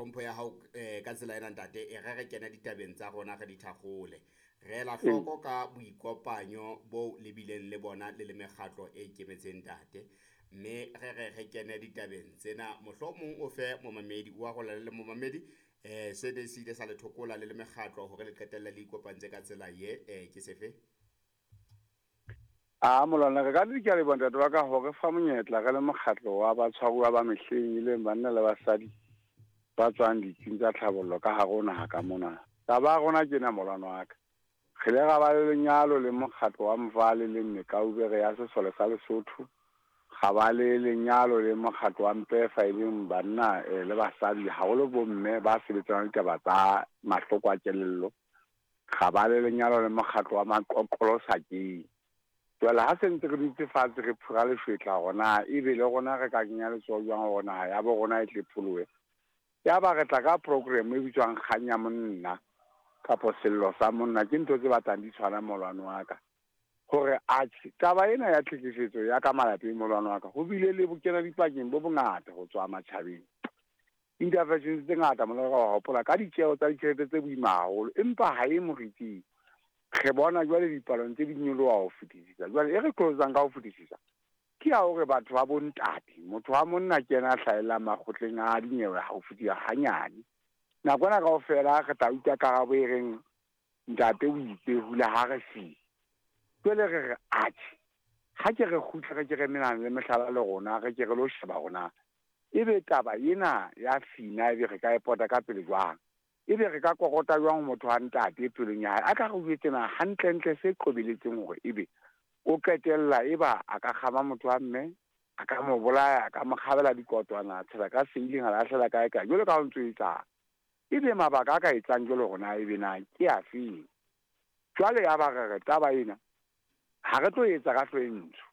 tlhompho ya hao ka tsela ena ntate, e re re kene ditabeng tsa rona re di thakgole. Re ela hloko ka boikopanyo bo le bileng le bona le le mekgatlo e ikemetseng ntate. Mme re re re kene ditabeng tsena, mohlomong o fe momamedi wa rona le momamedi se ne se ile sa le thokola le le mekgatlo hore le qetelle le ikopantse ka tsela ye, ke sefe? A molwana re ka di ke a leboha ntate wa ka hore fa monyetla re le mokgatlo wa batshwaruwa ba mehleng e leng banna le basadi ba tswang ditsing tsa tlhabollo ka hare ho naha ka mona. Taba ya rona ke ena molwana wa ka. Re ile ra ba le lenyalo le mokgatlo wa Mvale le Mekaubere ya Sesole sa Lesotho. Ga ba le lenyalo le mokgatlo wa Mpefa e leng banna le basadi haholo bomme ba sebetsanang le ditaba tsa mahloko a kelello. Ga ba le lenyalo le mokgatlo wa Maqoqolo Sakeng. Jwale ha se ntse re dutse fatshe re phura leshwetla hore na ebe le rona re ka kenya letsoho jwang hore naha ya bo rona e tle pholohe. Ya ba re tla ka program e bitswang Kgang ya Monna kapo Sello sa Monna, ke ntho tse batlang di tshwana molwane wa ka. Hore atjhe taba ena ya tlhekefetso ya ka malapeng molwane wa ka, ho bile le bokena dipakeng bo bongata ho tswa matjhabeng. Interventions tse ngata molwane wa ka wa hopola ka ditjeho tsa ditjhelete tse boima haholo, empa ha e moriting. Re bona jwale dipalong tse di nyoloha ho fetisisa. Jwale e re qolosang ka ho fetisisa ke ya hore batho ba bontate, motho wa monna ke yena a hlahellang makgotleng a dinyewe ha ho fetisa hanyane. Nako ena kaofela re tla utlwa karabo e reng ntate o itse hula ha re fi. Jwale re re atjhe, ha ke re kgutle re ke re menana le mehlala le rona, re ke re lo sheba hore na ebe taba ena ya fina ebe re ka e pota ka pele jwang. Ebe re ka kokota jwang motho wa ntate pelong ya hae a ka re jwetse na hantlentle se qobeletseng hore ebe o qetella eba a ka kgama motho wa mme, a ka mo bolaya, a ka mo kgabela dikotwana, a tshela ka seileng, a lahlela kae kae, jwalo ka ho ntso etsang. Ebe mabaka a ka etsang jwalo hore na ebe na ke afeng. Jwale ya ba re re taba ena ha re tlo etsa ka hlo e ntsho.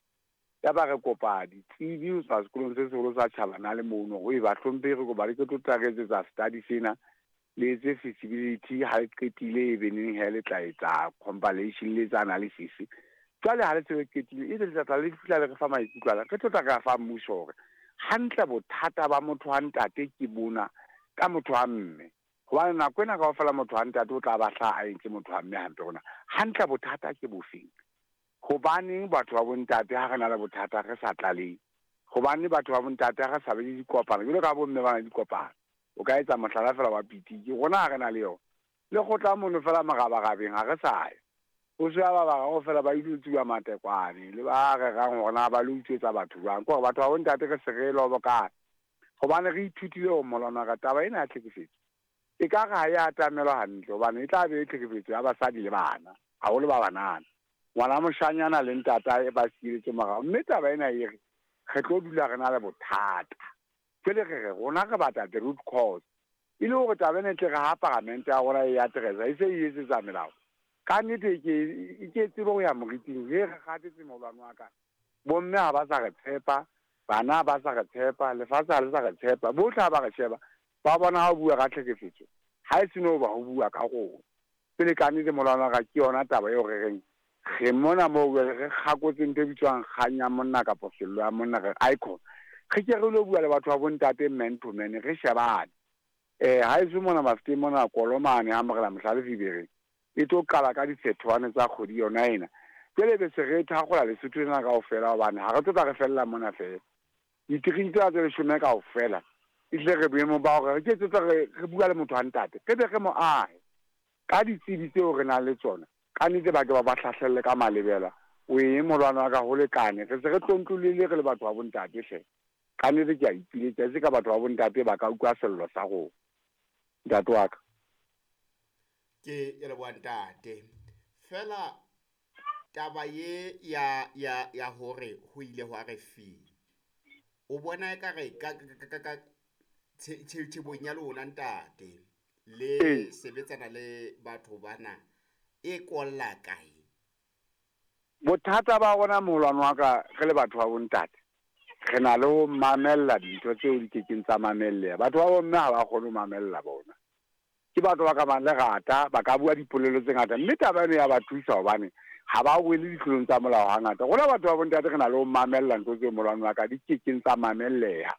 Ya ba re kopa ditsebi ho tswa sekolong se seholo sa Tjhabana le mono hore ba hlomphehe, re kopa re ke tlo tla re etsetsa study sena, le etse feasibility, ha le qetile e be neng he le tla etsa compilation, le etsa analysis. Jwale ha le se le qetile ebe le tla tla le fihla le re fa maikutlo ana, re tlo tla re a fa mmuso hore hantle bothata ba motho wa ntate ke bona ka motho wa mme. Hobane nako ena kaofela motho wa ntate o tla ba hlaha a entse motho wa mme hampe rona. Hantle bothata ke bofeng? Hobaneng batho ba bontate ha re na le bothata re sa tlalehe? Hobane batho ba bontate ha re sa be le dikopano, jwalo ka bomme ba na le dikopano. O ka etsa mohlala fela wa pitiki, rona ha re na le yona. Le kgotla mono fela morabarabeng ha re sa ya. Ho se ba bararo fela ba ile tsuba matekwane le ba rerang hore na ba lo utswetsa batho jwang. Ke hore batho ba bontate re se re lobokana. Hobane re ithutile hore molwana ka taba ena ya tlhekefetso e ka re ha e atamelwa hantle hobane e tla be e tlhekefetso ya basadi le bana, haholo ba banana. Ngwana moshanyana le ntatae ba sieletse morao, mme taba ena e re re tlo dula re na le bothata. Jwale re re rona re batla the root cause, e le hore taba ena e tle re ha paramente ya rona e addressa e se e etsetsa melao. Ka nnete e ke e ke tsebe ho ya moriting, he re kgathetse molwane wa ka. Bomme ha ba sa re tshepa, bana ha ba sa re tshepa, lefatshe ha le sa re tshepa, bohle ha ba re sheba ba bona ha o bua ka tlhekefetso ha e seno ba ho bua ka rona. Pele ka nnete molwane wa ka ke yona taba eo re reng re mona moo jwale re kgakotse ntho e bitswang kgang ya monna kapa sello ya monna, re icon. Re ke re lo bua le batho ba bontate man to man, re shebane. Ha eso mona Mafeteng mona Kolomane ha Morena Mohlale Fibereng e tlo qala ka difethwane tsa kgwedi yona ena. Jwale be se re thakgola Lesotho lena kaofela hobane ha re tlo tla re fella mona fela. Diterene tsena tse leshome kaofela ehlile re boemong ba hore re ke tse re bua le motho wa ntate, re be re mo ahe ka ditsebi tseo re nang le tsona. Ka nnete ba ke ba ba hlahlelle ka malebela. O eng molwana wa ka ho lekane, re se re tlontlollile re le batho ba bontate hle. Ka nnete ke a ipiletsa, e se ka batho ba bontate ba ka utlwa sello sa rona. Ntate wa ka. Ke ya leboha ntate. Fela taba ye ya ya ya hore ho ile hwa re fi. O bona ekare ka ka ka tshebong ya lona ntate le sebetsana le batho bana e kolla kae? Bothata ba rona moholwane wa ka re le batho ba bontate, re na le ho mamella dintho tseo di kekeng tsa mamelleha. Batho ba bomme ha ba kgone ho mamella bona. Ke batho ba ka bang lerata, ba ka bua dipolelo tse ngata, mme taba eno ya ba thusa hobane ha ba wele ditlolong tsa molao hangata. Rona batho ba bontate re na le ho mamella ntho tseo moholwane wa ka di kekeng tsa mamelleha.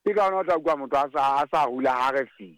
Ke ka hona o tla utlwa motho a sa rula ha re fi.